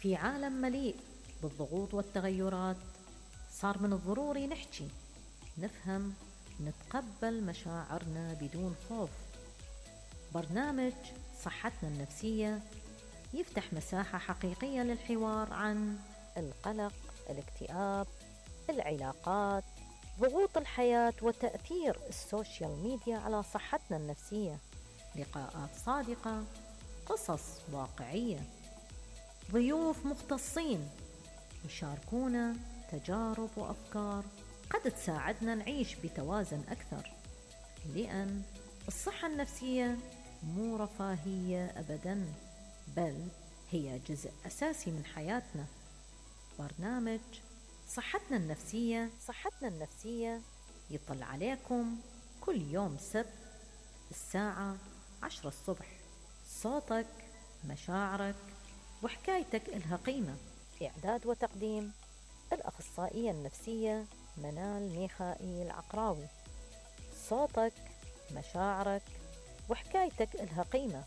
في عالم مليء بالضغوط والتغيرات، صار من الضروري نحكي، نفهم، نتقبل مشاعرنا بدون خوف. برنامج صحتنا النفسية يفتح مساحة حقيقية للحوار عن القلق، الاكتئاب، العلاقات، ضغوط الحياة وتأثير السوشيال ميديا على صحتنا النفسية. لقاءات صادقة، قصص واقعية، ضيوف مختصين يشاركونا تجارب وأفكار قد تساعدنا نعيش بتوازن أكثر، لأن الصحة النفسية مو رفاهية أبداً، بل هي جزء أساسي من حياتنا. برنامج صحتنا النفسية يطل عليكم كل يوم سبت الساعة 10 الصبح. صوتك، مشاعرك وحكايتك إلها قيمة. إعداد وتقديم الأخصائية النفسية منال ميخائيل عقراوي. صوتك، مشاعرك وحكايتك إلها قيمة.